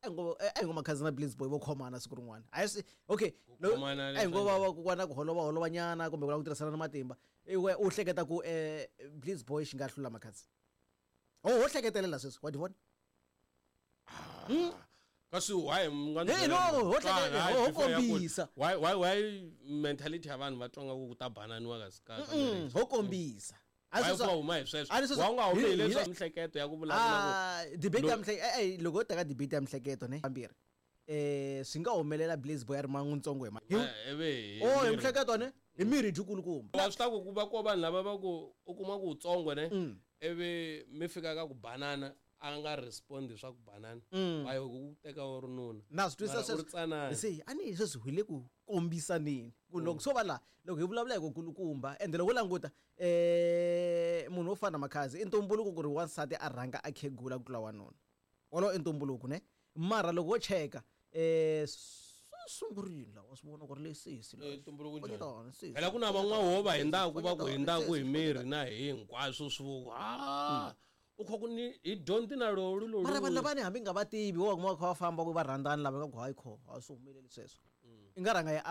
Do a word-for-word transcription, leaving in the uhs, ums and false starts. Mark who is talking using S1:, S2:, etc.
S1: A hi ngo a hi ngo Makhadzi na Blaze Boy vo khomana siku rin'wana. A hi swi okay.
S2: Ku khomana
S1: A hi ngo va va ku va na ku holova holova nyana kumbe ku lava ku tirhisana na matimba. I we u hleketa ku eh Blaze Boy xi nga hlula Makhadzi. Ho ho hleketelela sweswi wa di vona?
S2: Kasi why mi nga
S1: Hey, no, ho hleketa- ho- ho kombisa.
S2: Why why why mentality ya vanhu va twa nga ku ku ta bananiwa kasi ka ka
S1: Mm,
S2: marriage?
S1: ho kombisa. A
S2: Why
S1: sweswi-
S2: ku huma hi sweswo
S1: a ni sweswi-
S2: wa u nga humi
S1: hi-
S2: hi leswi
S1: hi-
S2: mihleketo ya ku vulavula ku
S1: Ah, debate ya mihleke eh, eh, loko ho teka debate ya mihleketo ne vambirhi eh swi nga humelela Blaze Boy a ri man'witsongo hi ma hi
S2: Eh, eve hi
S1: oh hi
S2: miri.
S1: mihleketo ne hi miri dyikulukumba
S2: wa swi ta ku ku va ko vanhu lava va ku u kuma ku utsongo ne
S1: Mm.
S2: ivi mi fika ka ku banana a nga respondi swa ku banana va yo ku teka u ri nuna
S1: Mm. Na swi twisisa
S2: Mara u ri
S1: sweswo
S2: tsanana
S1: se a ni sweswi hi le ku kombisaneni ku loko swo va laha loko hi vulavula hi ku kulukumba ende loko u languta eh munhu wo fana na Makhadzi i ntumbuluko ku ri wansati a rhanga a khegula ku tlula wanuna wolowo i ntumbuluko ne mara loko wo cheka eh swi sungurile laha wa swi vona ku ri lesisi
S2: Eh, ntumbuluko njhani?
S1: njhani sesi
S2: phela ku na van'wana wo va hindzaku va ku hindzaku hi
S1: Sesi,
S2: miri na hi hinkwaswo swi vo a u kha ku ni hi dyondzi na lolu lolu
S1: mara vanhu lavani hambi nga va tivi wo va kuma va kha va famba ku va rhandzani lava nga ku hayi kho a swi humeleli sweswo i nga rhanga yi